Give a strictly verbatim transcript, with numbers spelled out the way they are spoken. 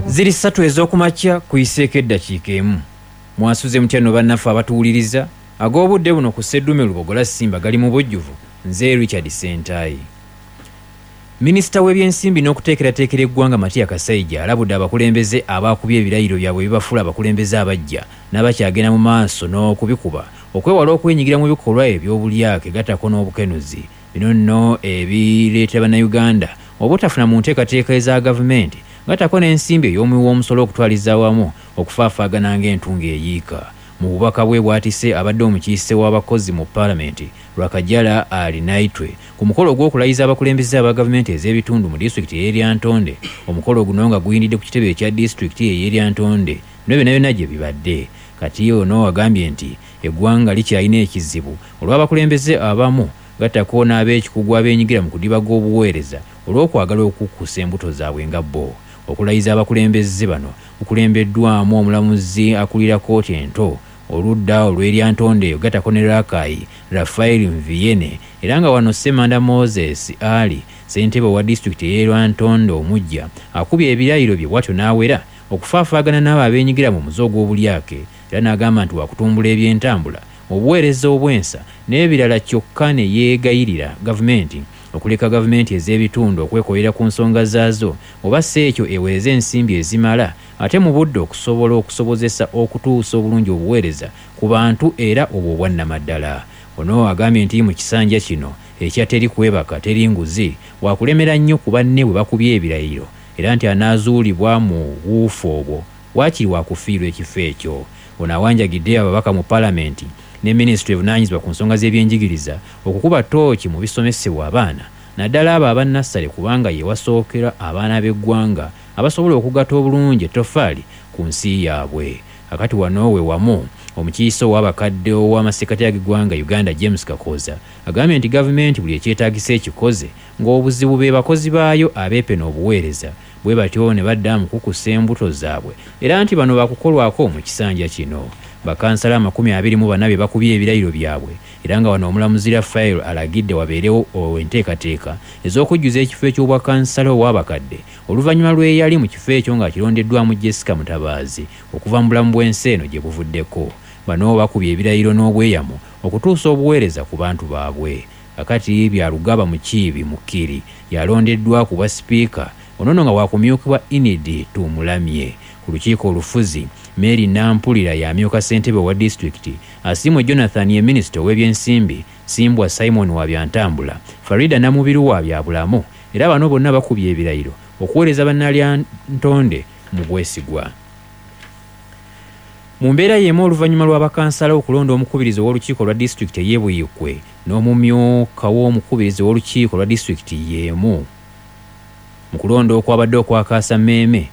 Ziri ssatu ez'okumakya kuyiseeko eddakiika emu. Mwasuze mutya nno bannaffe abatuwuliriza? Ag'obudde buno ku Sseddume Lubogola Simba gali mu bujjuvu. Nze Richard Ssentayi. Minisita w'ebyensimbi n'okuteekerateekera eggwanga Matia Kasaija alabudde abakulembeze abaakubye ebirayiro byabwe ebibafuula abakulembeze abaggya n'abakyagenda mu maaso n'okubikuba okwewala okwenyigira mu bikolwa eby'obulyake gattako n'obukenuzi. Bino nno ebireetera Bannayuganda obutafuna mu nteekateeka eza gavumenti gattako n'ensimbi ey'omuwi w'omusolo okutwaliza awamu okufaafaagana ng'entungo eyiika. Mu bubaka bwe bw'atisse abadde omukiise w'abakozi mu Paalamenti Rwakajara Arinaitwe ku mukolo ogw'okulayiza abakulembeze aba gavumenti ez'ebitundu mu disitulikiti ey'e Lyantonde. Omukolo guno nga guyindidde ku kitebe ekya disitulikiti ey'e Lyantonde bino byonna byonna gye bibadde. Kati ono agambye nti eggwanga likyalina ekizibu olw'abakulembeze abamu gattako n'ab'ekikugu abeenyigira mu kudibaga obuweereza olw'okwagala okukkusa embuto zaabwe nga bo. Okulayiza abakulembeze bano kukulembeddwamu omulamuzi akulira kkooti ento oludda olw'e Lyantonde gattako ne Rakai Raphael Mviene, era nga wano Ssemanda Moses Ali ssentebe owa disitulikiti ey'e Lyantonde omuggya akubye ebirayiro bye bw'atyo n'awera okufaafaagana n'abo abeenyigira mu muze ogw'obulyake, era n'agamba nti wakutumbula ebyentambula, obuweereza obw'ensa n'ebirala, kyokka ne yeegayirira gavumenti okuleka gavumenti ez'ebitundu okwekolera ku nsonga zaazo oba si ekyo eweereze ensimbi ezimala ate mu budde okusobola okusobozesa okutuusa obulungi obuweereza ku bantu era obwo obwannamaddala. Ono agambye nti mu kisanja kino ekya teri kwebaka teri nguzi wakulemera nnyo ku banne bwe bakubye ebirayiro, era nti anaazuulibwa mu buufu obwo waakiri wakufiirwa ekifo ekyo. Ono awanjagidde ababaka mu Paalamenti ne minisitule evunaanyizibwa ku nsonga z'ebyenjigiriza okukuba ttooki mu bisomesebwa abaana naddala abo abannassale, kubanga ye wasookera abaana b'eggwanga abasobola okugatta obulungi ettoffaali ku nsi yaabwe. Akati wano we wamu omukiise ow'abakadde ow'amasekkati ag'eggwanga Uganda James Kakooza agambye nti gavumenti buli ekyetaagisa ekikoze ng'obuzibu be bakozi baayo abeepena obuweereza bwe batyo ne badda mu kukusa embuto zaabwe, era nti bano baakukolwako mu kisanja kino. Bakansala amakumi abiri mu bana be bakubye ebirayiro byabwe, era nga wano omulamuzi Raphael alagidde wabeerewo enteekateeka ez'okujjuza ekifo eky'obwakansala ow'abakadde oluvannyuma lw'eyali mu kifo ekyo ng'akirondeddwamu Jessica Mutabaazi okuva mu bulamu bw'ensi eno gye buvuddeko. Bano bakubye ebirayiro n'obweyamo okutuusa obuweereza ku bantu baabwe. Kakati Byarugaba Mukiibi Mukiri yalondeddwa ku bwa sipiika, ono nno nga wakumyukibwa Enid Tumulamye. Ku lukiiko olufuzi Mary Nampulira y'amyuka ssentebe owa disitulikiti, Asiimwe Jonathan ye minisita ow'ebyensimbi, Simbwa Simon wa byantambula, Farida Namubiru wa byabulamu, era bano bonna bakubye ebirayiro okuweereza Bannalyantonde mu bwesigwa. Mu mbeera y'emu oluvannyuma lw'abakansala okulonda omukubirizi ow'olukiiko lwa disitulikiti ey'e Buikwe n'omumyuka w'omukubirizi ow'olukiiko lwa disitulikiti y'emu mu kulonda okwabadde okwakaasa mmeeme,